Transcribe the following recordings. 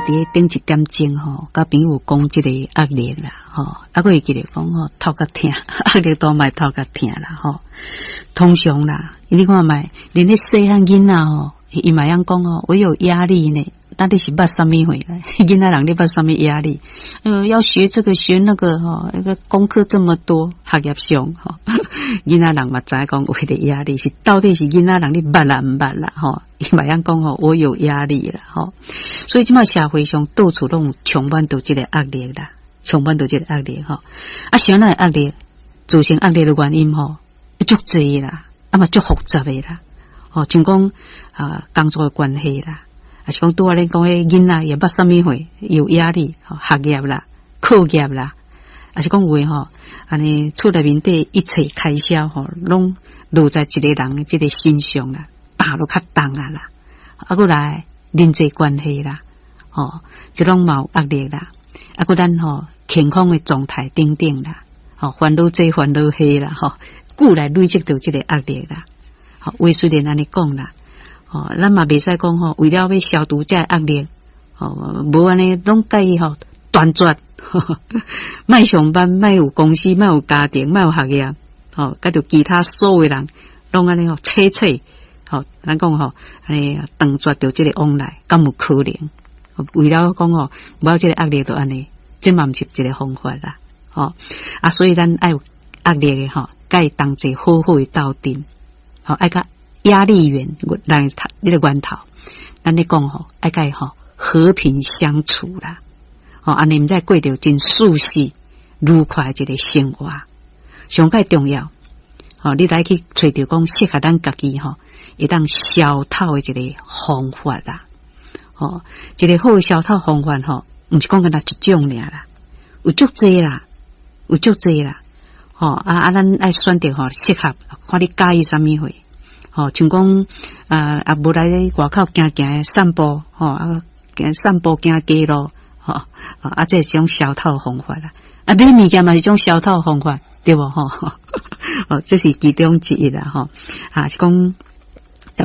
佇頂一點鐘吼，佮朋友講這個壓力啦，吼，啊，閣會記得講吼，頭殼疼，壓力大嘛會頭殼疼啦，吼。通常啦，你看覓，連彼細漢囡仔吼，伊嘛會曉講吼，我有壓力呢。到底是捌啥物貨？囡仔人咧捌啥物壓力？要學這個學那個吼，那個功課這麼多，學業上吼，囡仔人嘛知影講有彼個壓力，是到底是囡仔人咧捌啦毋捌啦？吼，伊嘛會曉講吼，我有壓力啦，吼。所以這擺社會上到處攏充滿著這個壓力啦，充滿著這個壓力吼。啊，啥人會壓力？造成壓力的原因吼，足濟啦，啊嘛足複雜的啦。吼，像講啊，工作的關係啦。抑是講拄仔咧講彼囡仔也捌啥物貨，有壓力，吼，學業啦、課業啦，抑是講有的吼，按呢厝內面底一切開銷吼，攏落在一個人的這個身上啦，擔都較重啊啦，啊，閣來人際關係啦，吼，這攏嘛有壓力啦，啊，閣咱吼健康的狀態等等啦，吼，煩惱這煩惱彼啦，吼，久來累積著這個壓力啦，吼，話雖然按呢講啦。吼，咱嘛袂使講吼，為了欲消除這壓力，吼，無按呢攏共伊吼斷絕，莫上班，莫有公司，莫有家庭，莫有學業，吼，佮著其他所有人攏按呢吼，切切，吼，咱講吼，按呢斷絕著這個往來，敢有可能？為了講吼，無這個壓力就按呢，這嘛毋是一個方法啦，吼，啊，所以咱愛有壓力的吼，共伊同齊好好的鬥陣，吼，愛佮壓力源來你的源頭，咱咧講吼，愛共伊吼和平相處啦，吼，按呢毋才過著真舒適、愉快一個生活。上蓋重要，吼，你來去揣著講適合咱家己吼，會當消透的一個方法啦。吼，一個好的消透方法吼，毋是講干焦一種爾啦，有足濟啦，有足濟啦。吼啊啊，咱愛選擇吼適合，看你佮意啥物貨。吼，像講啊啊，無來外口行行散步，吼啊，散步行街路，吼啊，這是一種消透方法啦。啊，買物件嘛是一種消透方法，對無吼？哦，這是其中之一啦，吼。啊，是講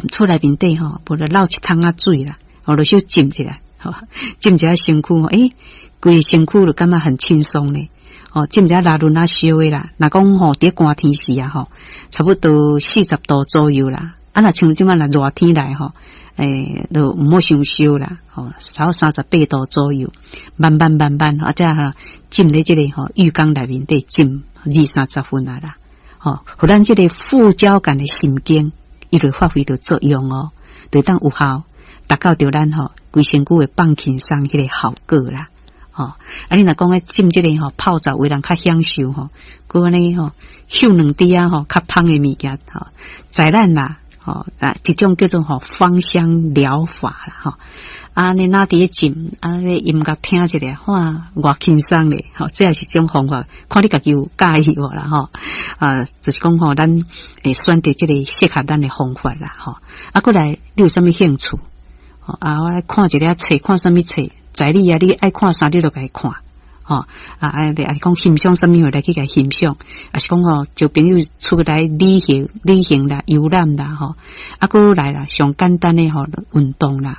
厝內面底吼，無就漏一桶仔水啦，哦，就小浸一下，吼，浸一下身軀，欸，規個身軀就感覺很輕鬆咧。哦，浸一下熱潤仔燒的啦，若講吼，佇寒天時啊吼，差不多40度左右啦。啊，若像這擺若熱天來吼，欸，就毋好傷燒啦，吼，差不多38度左右，慢慢慢慢，啊，才哈浸咧這個吼浴缸內面底浸二三十分啊啦，吼，予咱這個副交感的神經，伊就發揮著作用哦，就當有效達到著咱吼規身軀會放輕鬆彼個效果啦。吼，啊，你若講咧浸這個吼泡澡，有人較享受吼，閣按呢吼嗅兩滴仔吼較芳的物件吼，在咱啦吼啊，一種叫做吼芳香療法啦吼，啊，你若佇咧浸，啊，咧音樂聽一下，哇，偌輕鬆咧，吼，這也是一種方法，看你家己有佮意無啦吼，啊，就是講吼，咱會選擇這個適合咱的方法啦吼，啊，閣來你有啥物興趣？啊，我來看一下冊，看啥物冊？在你啊，你愛看啥，你就共伊看，吼啊啊！啊講欣賞啥物貨來去共欣賞，抑是講吼，招朋友出來旅行、旅行啦、遊覽啦，吼啊，閣來啦，上簡單的吼運動啦。